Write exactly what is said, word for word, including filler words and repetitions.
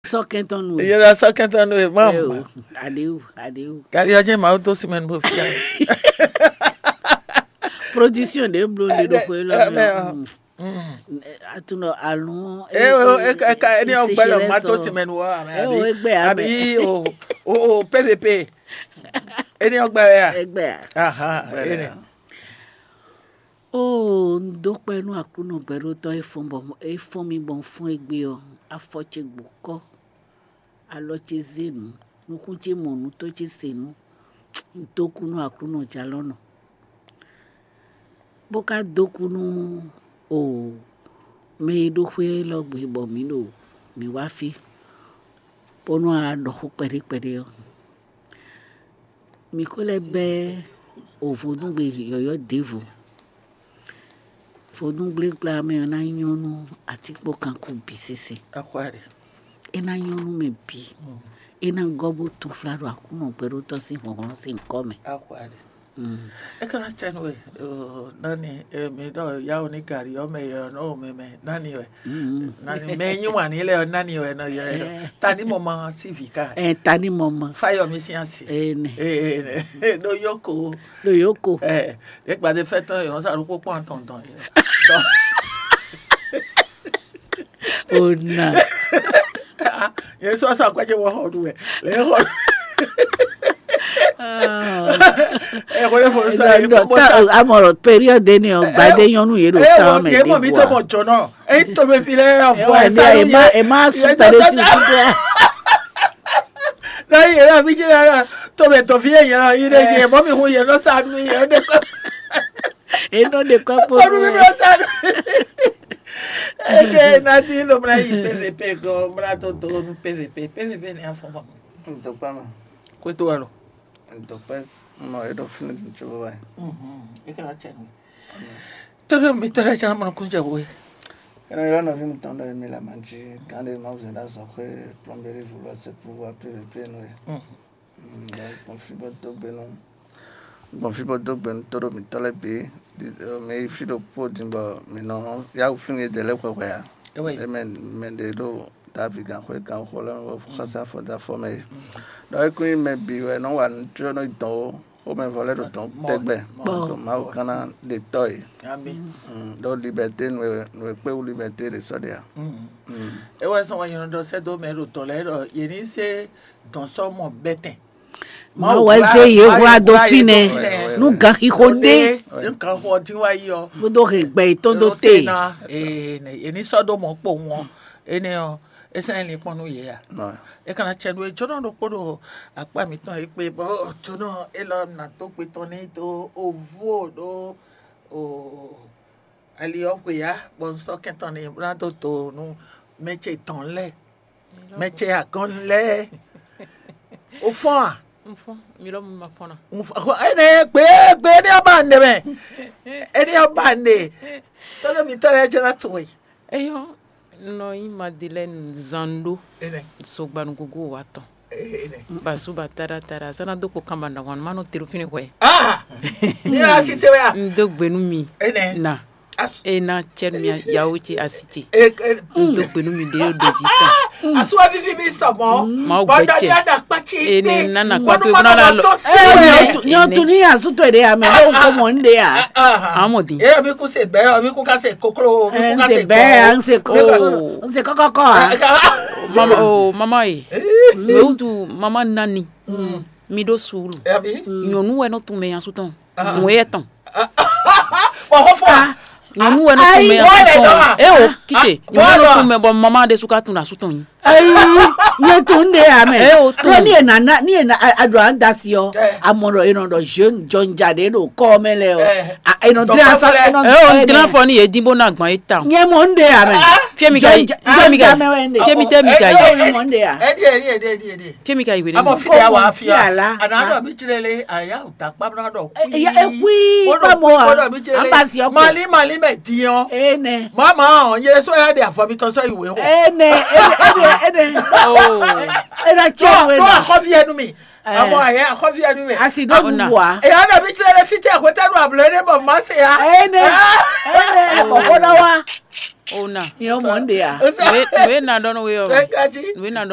Sɔkɛntɔn nu. Yɛrɛ sɔkɛntɔn nu e ma. Aɖewu, aɖewu. Kari ɔjɛ ma to simɛn bo fia. Production ɖe blo ɖe ɖo xwe lɔ mɛ. Atunɔ alun. Eo eka eni ɔgbɛ lɔ ma to simɛn wɔ ame. Eo egbe ame. Abi o o o pvp. Eni ɔgbɛ ya. Egbe a. Aha. Eni. Oo, un dó kpɛ́ nú Aklúnɔ gbɛɖótɔ́ e fɔ́n bɔ é fɔ́n mì bɔ un fɔ́n égbé ɔ́, afɔ ce gbǒkɔ́, alɔ ce zé nǔ, nukún ce mɔ nǔ, tó ce se nǔ. Un dó kú nú Aklúnɔ jalɔ́nɔ, bó ka dó kú nú oo, mɛ e ɖó xwé élɔ́ gbe bɔ mǐ ɖo mǐ wá fí, bónú a ɖɔ xó kpɛɖé kpɛɖé ɔ́. Mǐ ko lɛ́ bɛ́ o vodúngbe yɔ̌yɔ́ ɖěvo. Vodúngblégblá mɛ ɔ́ ná nyɔ́ nú atínkpɔ́nkanko bǐ sésé. Akwáɖe. É ná nyɔ́ nú mɛ bǐ. É ná gɔ́ bó túnflá ɖo Aklúnɔ gbɛɖótɔ́ sín hlɔ̌nhlɔ́n sín nyǐkɔ mɛ. Akwáɖe. Mm. É ka ná cɛ nú we, nani mi ɖɔ yawo ní gari ɔ́ mɛ yɔ nɔ mɛ mɛ nani wɛ. Mm. Nani mɛ nyí wǎn ní lɛ ɔ́ nani wɛ nɔ yɔ ɛ ɖɔ. Eh. Taní mɔ ma sí vǐ ká. Eh, taní mɔ ma. Fáyọmí sín asi. Eh, nɛ. Eh, eh, ɖo yoko. Ɖo yoko. Eh, é gbadé fẹ́ tán yɔ sá ló kpó kpɔ́n tɔn tɔn. Ona. Yẹn sɔ sa kwájẹ wọ xɔ ɖu wɛ lẹ xɔ. Ẹ xɔ lẹ fọ sa yẹ kpɔkpɔ sa. Amọ̀rọ̀ période ni ɔ gbadé nyɔnu yẹ ɖo tán mɛ. Ẹ wọ yẹ mọ mi tó mọ jọ náà. Ẹ tó mi fi lẹ ọfọ ẹ sáré yẹ. Ẹ má sùn pẹ̀lú ti fi dẹ. Náà yẹ náà fi jẹ náà tó mi tó fi yẹ yẹn náà yìí dẹ yẹ mọ mi hu yẹ lọ sáré yẹ dẹ kọ. Eno ɖe kɔ́ kpó. Kɔnu mi bla sa. Eke nati lo mla yi P V P ko mla to do nu P V P. P V P ni afɔ ma. Ntɔkpa ma. Kwe to wa lo. Ntɔkpa ma e ɖo fún ní tso wa. Mhm. Eke la cɛ ni. Tɔɖɔ mi tɔɖɔ cɛ na mɔ kun jɛ wo. Ena yɔ nɔvi mi tɔn ɖɔ mi la ma dzi kan ɖe ma zɛ ɖa zɔ xwe plɔmberi vulu ase pou wa P V P nu. Mhm. Gbɔn fí bó dó gbe nú gbɔn fí bó dó gbe nú tóɖó mǐtɔn lɛ́ɛ bǐ. Mǐ yi fí ɖokpó din bɔ mǐ nɔ yá wǔ fínɛ́ ɖě lɛ́ɛ hwɛhwɛ ǎ. Émɛ mɛ ɖě ɖo Davi gǎnxwé gǎnxó lɛ́ɛ mɛ bɔ xɔsá fɔ dó afɔ mɛ é. Ɖɔ é kún nyí mɛ bǐ wɛ nɔ wa nǔ có nɔ dɔn ó, xomɛvɔ lɛ́ɛ ɖo dɔn tɛgbɛ. Ɖɔ Mawu gán ná ɖe tɔ́ yě. Ɖó liberté nǔ e kpé wú liberté ɖě sɔ́ ɖe ǎ. É wɛ sɔn wɛ nyɛ nɔ ɖɔ sɛ́ dó mɛ ɖo dɔ̌n lɛ́ɛ ɖɔ yě ní se dɔ̌n sɔ́ mɔ bɛ́tɛn. Mawu wɛ zé yě hwlá dó fínɛ́ nú ganxixo ɖé. Nú ganxixo ɔ́ dín wá yi ɔ́. Bó dó hɛn gbɛ yětɔn dó te. Yě ní sɔ́ dó mɔ̌ kpowun ɔ́. Énɛ́ ɔ́, é sɛ́n nyí linkpɔ́n nú yě a? É ka ná cɛ nú é jónɔ ɖokpó ɖo akpá mǐtɔn e kpé bɔ jónɔ élɔ́ ná dó gbe tɔn n'i dó ovú o ɖó o ali ɔ́ xwe ya, bɔ un sɔ́ kɛntɔn n'i bó ná dó do nú mɛ ce tɔn lɛ́ɛ, mɛ ce agɔ́n lɛ́ɛ. O fɔ́n a? Un fɔ́n, mi lɔ mi ma fɔ́n na. Énɛ́ gbe gbe énɛ́ ɔ́ ba nɛ mɛ. Énɛ́ ɔ́ ba nɛ. Tɔ́lɛ mǐtɔn lɛ́ɛ jɛ ná tunwun e. Eyɔ́, un nɔ nyí Madelɛ́ni Zando, Sogbanugogo wa tɔn. Basu ba taɖa taɖa, sɔ ná dó kpo kanba ɖahwan ma nɔ te ɖo fínɛ́ hwɛ. Ah! Ní a si se wɛ a? Un dó gbe nú mi. Énɛ́. Na. As- E na cɛ mi yawo ce asi ce. E- e- Un dó gbe nú mi ɖe ɖo jí tɔn. Asuwa vivi mi sɔmɔ. Mawu gbɛ cɛ. Bɔdɔ mi ada kpatsi. E ne nana kpakpe bɔdɔ bɔdɔ la lɔ. Tó se wɛ. Nyɔtu ni asu to ɖe ame ɖo ko mɔ n ɖe a. Amɔ di. E mi ku se gbɛ, mi ku ka se koklo, mi ku ka se gbɛ, an se ko, Oh. N se kɔkɔ kɔ a. Mama o mama ye. Mɛ wutu mama nani. Mi ɖó suulu. Abi. Nyɔnu wɛ nɔ tun mɛ nyasu tɔn. Nǔ yɛ tɔn. Bɔ xɔ fɔ. Nyɔnu wɛ nɔ tun mɛ nyasu tɔn. E o kite. Nyɔnu wɛ nɔ tun mɛ bɔ mama ɖe su ka tun asu tɔn yi. Ayi, nyɛ tun ɖe ya mɛ. E o tun. Ni e nana ni e na aɖo an da si ɔ. Amɔ ɖɔ e nɔ ɖɔ jeune jɔnja ɖe ɖo kɔ mɛ lɛ ɔ. E nɔ dra sa e nɔ. E o n dra fɔ ni yɛ din bo na gbɔn e ta. Nyɛ mɔ n ɖe ya mɛ. Fiemi ka yi. Fiemi ka yi. Fiemi tɛ mi ka yi. Mɔ n ɖe ya. Ɛdi ɛdi ɛdi ɛdi ɛdi. Kemi ka yi wele. Amɔ fi ya wa fi ya. Ana dɔ bi tire le aya o ta kpa bla dɔ kui. Ya ekui kpa mo a. Amba si ɔkɔ. Mali mali mɛ diɔ. Ene. Mama o n yɛrɛ sɔ ya de afɔ mi tɔ sɔ yi we o. Ene ene ene ene. Oh. Ena cɛ we na. Akɔfi yɛ nu mi. Amɔ ayɛ akɔfi yɛ nu mi. Asi do bu wa. Eya dɔ bi tire le fiti akwete do ablɔ ene bɔ ma se ya. Ene ene kɔkɔ na wa. Ona. Yɛ mɔ n de ya. Nue na dɔn we yɔ. Nue na dɔn.